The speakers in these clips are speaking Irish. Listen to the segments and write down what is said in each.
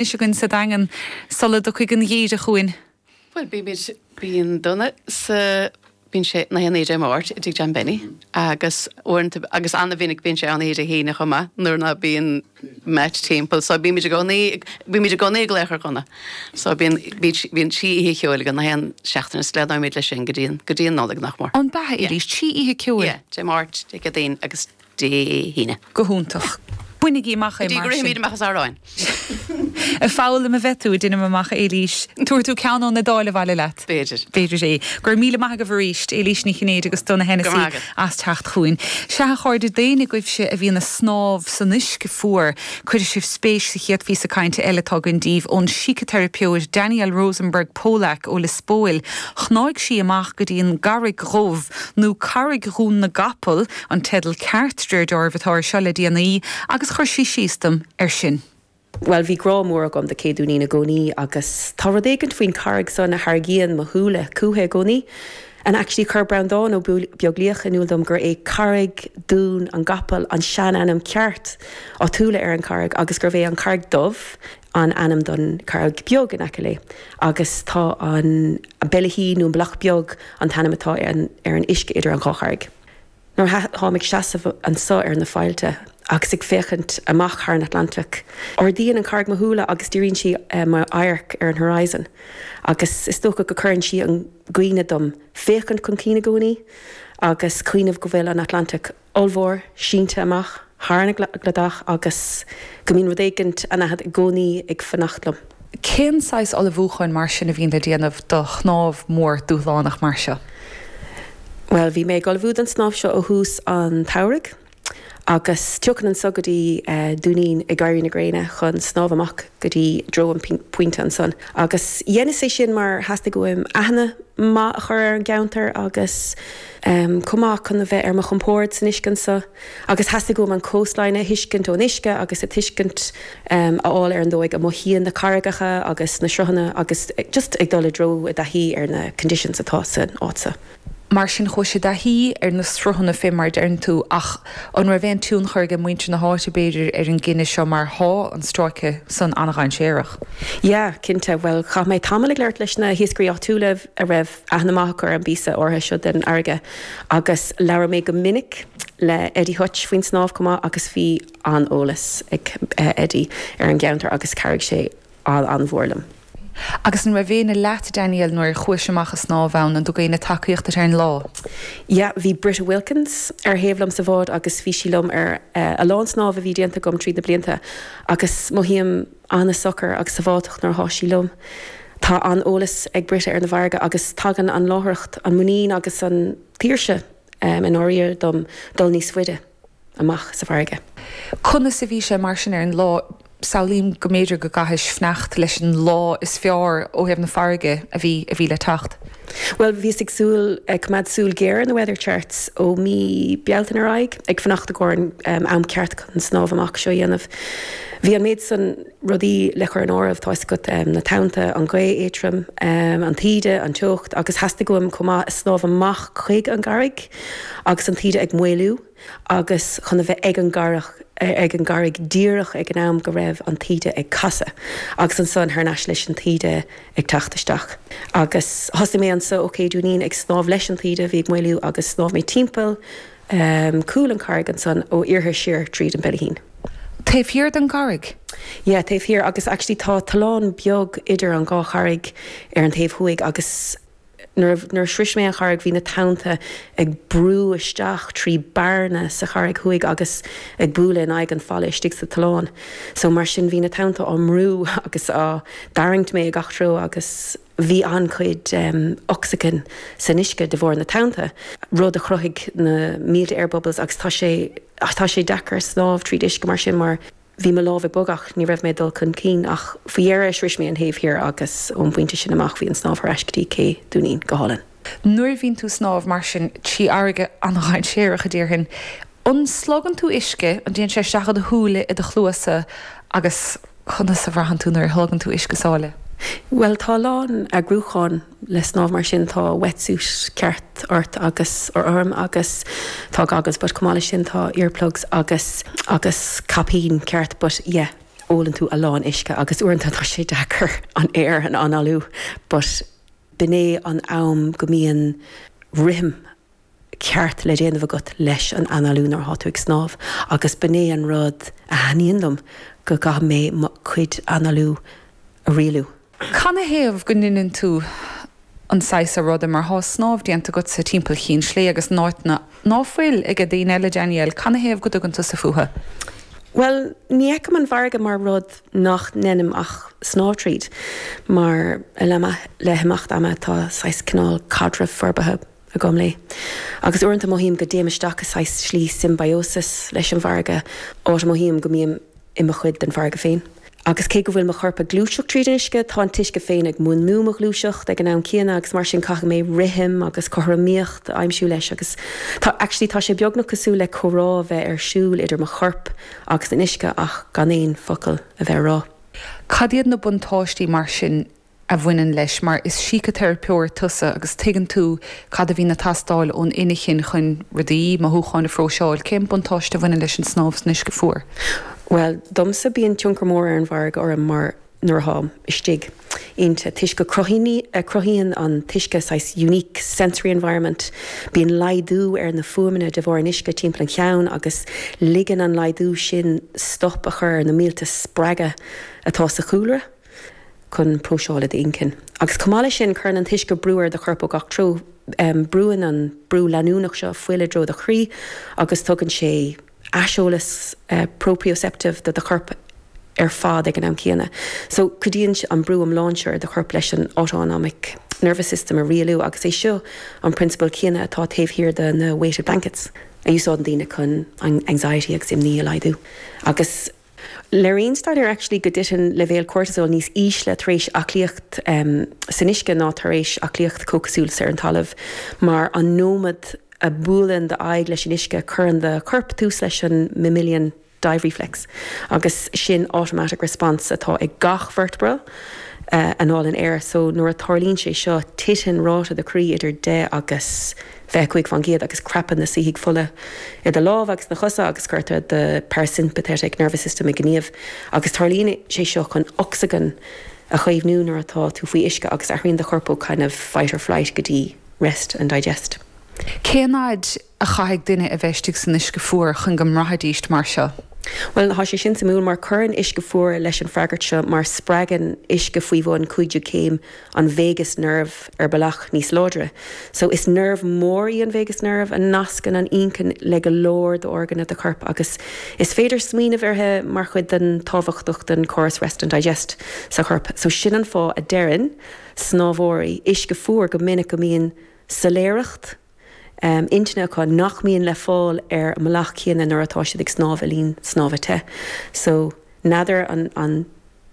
Anois againn sa Daingean sula dtiocfaidh an geimhreadh chugainn. Bhuel, bímid, bíonn Donagh sa, bíonn sé nach aon oíche Dé Máirt i dtigh John Benny agus uaireanta, agus an-mhinic bíonn sé ann oíche Dé hAoine chomh maith nuair ná bíonn Matt timpeall. So bímid i gcónaí, bímid i gcónaí ag glaoch ar Dhonagh. So bíonn, bíonn trí oíche cheoil againn nach aon seachtain is leanfaimid leis sin go dtí an, go dtí an Nollaig nach mór. An b'ea, Éilís? Trí oíche ceoil? Yeah, Dé Máirt, Dé Céadaoin agus Dé hAoine. Go hiontach. Bainigí amach é mar sin. Go dtí go rithimid amach as amhráin. Ag foghlaim a bheidh tú, deinim amach, a Éilís. Tabharfaidh tú ceann ón Iodáil abhaile leat. B'fhéidir. B'fhéidir é. Go raibh míle maith agaibh arís, Éilís Ní Chinnéide agus Donagh Hennessy, as teacht chugainn. Sea, a chairde, d'éinne agaibhse a bhíonn ag snámh san uisce fuar, cuirfidh sibh spéis sa chéad phíosa cainte eile atá againn daoibh ón síciteiripeoir Danielle Rosenberg Polack ó Lios Póil. Shnáigh sí amach go dtí an gCarraig Dhubh, nó Carraig Dhún na gCapall, An teideal ceart, de réir dealraimh, atá air seo le déanaí, agus chuir sí síos dom air sin. Bhuel, bhí grá mór agam do Cé Dúinín i gcónaí agus tá rud éigint faoin charraig san a tharraingíonn mo shúile chúithi i gcónaí. And actually chuir Breandán Ó Beaglaoich in iúl dom gur é Carraig Dhún an gCapall an sean-ainm ceart áitiúla ar an charraig agus gurbh é an Charraig Dubh an ainm don charraig beag in aice léi agus tá an Beilithín nó an Bealach Beag an t-ainm atá ar an uisce idir an dhá charraig. Nuair atáim ag seasamh anso ar na faillte agus ag féachaint amach thar an Atlantach, ardaíonn an charraig mo shúile agus díríonn sí m'amharc ar an horizon agus is dócha go cuireann sí an gcuimhne dom féachaint chun cinn i gcónaí agus cuimhneamh go bhfuil an Atlantach ollmhór, sínte amach thar an gcladach agus go mbíonn rud éigint anaithnid i gcónaí ag fanacht liom. Cén saghas ullmhúcháin mar sin a bhíonn le déanamh do shnámh mór dúshlánach mar seo? Bhuel, bhí mé ag ullmhú don snámh seo ó thús an tsamhraidh agus tiocfainn anso go dtí Dúinín ag éirí na gréine chun snámh amach go dtí dtreo an pointe ansan. Agus dheineas é sin mar theastaigh uaim aithne maith a chur ar an gceantar agus chomh maith chun a bheith ar mo chompord san uisce anso. Agus theastaigh uaim an coastline a thuiscint ón uisce agus a tuiscint a fháil ar an dóigh a mothaíonn na carraigeacha agus na sruthanna agus just ag dul i dtreo i dtaithí ar na conditions atá san áit so. Mar sin chuais i dtaithí ar na sruthanna fé mar a deireann tú ach an raibh aon tionchar ag muintir na háite b'fhéidir ar an gcinneadh seo mar thá an stráice san an-dhainséarach? Yeah, cinnte. Bhuel chaith mé tamall ag labhairt leis na hiascairí áitiúla a raibh aithne maith acu ar an bpíosa áirithe seo den fharraige agus labhair mé go minic le Eddie Hutch faoin snámh chomh maith agus bhí an-eolas ag Eddie ar an gceantar agus chabhraigh sé an-mhór liom. Agus an raibh éinne leat, Danielle, nuair a chuais amach ag snámh ann? An dtug éinne tacaíocht duit ar an lá? Yeah, bhí Britta Wilkins ar thaobh liom sa bhád agus bhí sí liom ar a lán snámh a bhí déanta agam tríd na blianta agus mothaím an-socair agus sábháilteach nuair atá sí liom. Tá an-eolas ag Britta ar na bhfarraige agus tagann an láithreacht, an muinín agus an tsaoirse i ndáiríre dom dul níos faide amach sa bhfarraige. Conas a bhí sé mar sin ar an lá? Samhlaím go mb'fhéidir go gcaithis fanacht leis an lá is fearr ó thaobh na farraige a bhí a bhí le teacht. Bhuel, bhíos ag súil, ag coimeád súil ghéar ar na weather charts ó mí Bealtaine ar aghaidh, ag fanacht i gcomhair an am ceart chun an snámh amach seo a dhéanamh. Bhí an méid san rudaí le cur in áireamh, tá 'fhios agat, na tonnta, an ghaoth éadrom, an taoide, an teocht agus theastaigh uaim chomh maith snámh amach chuig an gcarraig agus an taoide ag maolú. agus chun a bheith ag an gcarraig, ag an gcarraig díreach ag an am go raibh an taoide ag casadh agus ansan thar n-ais leis an taoide ag teacht isteach. Agus thosaigh mé anso ó Ché Dúinín ag snámh leis an taoide a bhí ag maolú agus shnámh mé timpeall cúl an charraig ansan ó iarthar siar tríd an Beilithín. Taobh thiar den gcarraig? Yeah, taobh thiar agus actually tá tollán beag idir an dhá charraig ar an taobh thuaidh agus Nuair a shrois mé an charraig bhí na tonnta ag brú isteach trí bearna sa charraig thuaidh agus ag bualadh in aghaidh an falla istigh sa tollán. So mar sin bhí na tonnta á mbrú agus á dtarraingt mé i gach treo agus bhí an-chuid ocsaigin san uisce de bharr na tonnta, rud a chruthaigh na mílte air bubbles agus tá sé tá sé deacair snámh tríd uisce mar sin mar Bhí mo lámh ag bogadh ach ní raibh mé ag dul chun cinn ach faoi dheireadh shrois mé an thaobh thiar agus ón bpointe sin amach bhí an snámh thar ais go dtí Cé Dúinín go hálainn. Nuair a bhíonn tú ag snámh mar sin trí fharraige an-dhainséarach a déarfainn, an slogann tú uisce, an dtéann sé isteach i do shúile, i do chluasa agus conas a bhraitheann tú nuair a shlogann tú uisce sáile? Bhuel tá a lán eagrúchán le snámh mar sin tá wetsuit ceart ort agus orm agus tá goggles but chomh maith leis sin tá earplugs agus agus caipín ceart but yeah. Ólann tú a lán uisce agus uaireanta tá sé deacair an aer a análú but b'in é an am go mbíonn rithim ceart le déanamh agat leis an análú nuair atá tú ag snámh agus b'in é an rud a thaitníonn liom, go gcaithfidh mé mo chuid análú a rialú. Canathaobh go ndeineann tú an saghas seo ruda mar thá snámh déanta agatsa timpeall Chinn Slé agus in áiteanna ná fuil age daoine eile, Danielle, canathaobh go dtugann tusa fúthu? Bhuel, ní fheicim an bhfarraige mar rud nach ndeinim ach snámh tríd, mar le himeacht ama tá saghas cineál caidreamh forbartha agam léi. Agus uaireanta mothaím go dtéim isteach i saghas slí symbiosis leis an bhfarraige, áit a mothaím go mbím i mo chuid den bhfarraige féin. Agus cé go bhfuil mo chorp ag gluaiseacht tríd an uisce, tá an t-uisce féin ag múnlú mo ghluaiseacht ag an am céanna agus mar sin caithfidh mé rithim agus cothromaíocht a aimsiú leis agus tá, actually tá sé beagnach cosúil le comhrá a bheith ar siúl idir mo chorp agus an uisce ach gan aon focal a bheith á rá. Cad iad na buntáistí mar sin a bhaineann leis, mar is síciteiripeoir tusa agus tuigeann tú cad a bhíonn ag teastáil ón inchinn chun rudaí, mothúcháin a phróiseáil. Cén buntáiste a bhaineann leis an snámh san uisce fuar? Bhuel, domsa bíonn tionchar mór ar an bhfarraige orm mar nuair atáim istigh inti, toisc go cruthaíonn an t-uisce saghas unique sensory environment, bíonn laghdú ar na fuaimeanna de bharr an uisce timpeall an cheann agus ligeann an laghdú sin stop a chur ar na mílte spreagadh atá sa chúlra. chun próiseáil i d'inchinn. Agus chomh maith leis sin, cuireann an t-uisce brú ar do chorp ó gach treo. Brúann an brú leanúnach seo fuil i dtreo do chroí agus tugann sé aiseolas proprioceptive do do chorp ar fad ag an am céanna. So, cuidíonn an brú iomlán seo ar do chorp leis an autonomic nervous system a rialú agus é seo an prionsabal céanna atá taobh thiar de na weighted blankets a úsáideann daoine chun anxiety agus imní a laghdú. Agus. Léiríonn staidéir actually go dtiteann leibhéil cortisol níos ísle tar éis aclaíocht san uisce ná tar éis aclaíocht comhchosúil ar an talamh mar an nóiméad a buaileann d'aghaidh leis an uisce cuireann do chorp tús leis an mammalian dive reflex agus sin automatic response atá ag gach vertebra a análann aer so nuair a tarlaíonn sé seo titeann ráta do chroí idir 10 agus 25% agus crapann na soithigh fola i do lámha agus na chosa agus cuirtear do parasympathetic nervous system i ngníomh agus tarlaíonn sé seo chun ocsaigin a chaomhnú nuair atá tú faoi uisce agus athraíonn do chorp ó kind of fight or flight go dtí rest and digest. Cén fhaid a chaithfidh duine a bheith istigh san uisce fuar chun go mbraithfidíst mar seo? Bhuel, tá sé sin suimiúil mar cuireann uisce fuar leis an freagairt seo mar spreagann uisce faoi bhun 15 céim an vagus nerve ar bealach níos láidre. So is nerve mór í an vagus nerve a nascann an inchinn le go leor d'orgáin do choirp agus is féidir smaoineamh uirthi mar chuid den tábhachtach den córas rest and digest sa chorp. So sin an fáth a deireann snámhóirí uisce fuar go minic go mbíonn soiléireacht intinne acu nach mbíonn le fáil ar an mbealach céanna nuair atá siad ag snámh i linn snámha te. So n'fheadar an an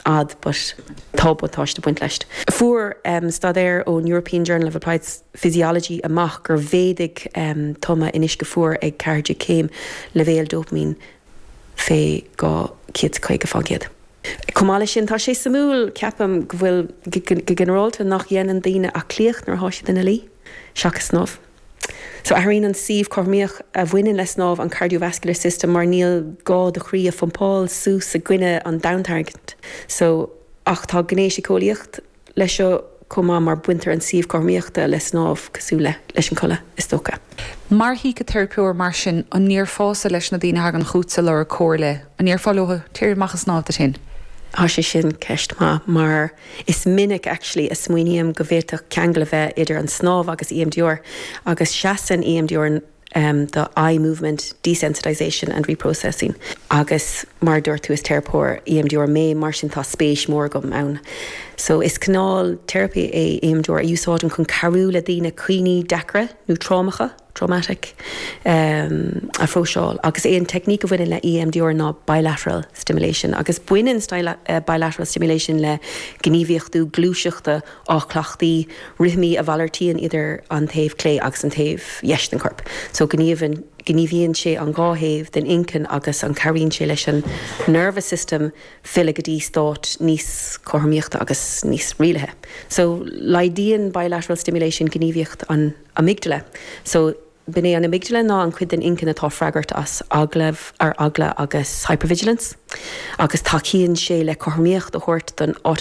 fhad but tá buntáiste ag baint leis. Fuair staidéar ón European Journal of Applied Physiology amach gur mhéadaigh tumadh in uisce fuar ag 14 céim leibhéal dopamine fé 250%. Chomh maith leis sin, tá sé suimiúil, ceapaim, go bhfuil, go ginearálta, nach dhéanann daoine aclaíocht nuair atá siad ina luí, seachas snámh. So athraíonn an suíomh cothromaíoch a bhaineann le snámh an cardiovascular system mar níl gá do chroí a phumpáil suas i gcoinne an domhantarraingt. So, ach tá gné síceolaíocht leis seo chomh maith mar baintear an suíomh cothromaíochta le snámh cosúil le leis an codladh, is dócha. Mar shíciteiripeoir mar sin, an ndéarfása leis na daoine a thagann chughatsa ag lorg comhairle, an ndéarfá leo, téir amach ag snámh duit féin? Tá sé sin ceist maith mar is minic actually a smaoiním go bhféadfadh ceangal a bheith idir an snámh agus EMDR agus seasann EMDR do Eye Movement Desensitization and Reprocessing agus mar a dúirt tú is teiripeoir EMDR mé mar sin tá spéis mhór agam ann. So is cineál teiripí é EMDR a úsáidim chun cabhrú le daoine cuimhní deacra nó trámacha, traumatic, a phróiseáil agus é an teicníc a bhaineann le EMDR ná bilateral stimulation agus baineann bilateral stimulation le gníomhaíochtú gluaiseachta á cleachtaí, rithimí a mhalartaíonn idir an taobh clé agus an taobh dheis den chorp. So gníomhann, gníomhaíonn sé an dhá thaobh den inchinn agus an cabhraíonn sé leis an nervous system filleadh go dtí stát níos cothromaíochta agus níos rialaithe. So laghdaíonn bilateral stimulation gníomhaíocht an amygdala. So. B'in é an amygdala ná an chuid den inchinn atá freagrach as eagla ar eagla agus hypervigilance agus tacaíonn sé le cothromaíocht a thabhairt don.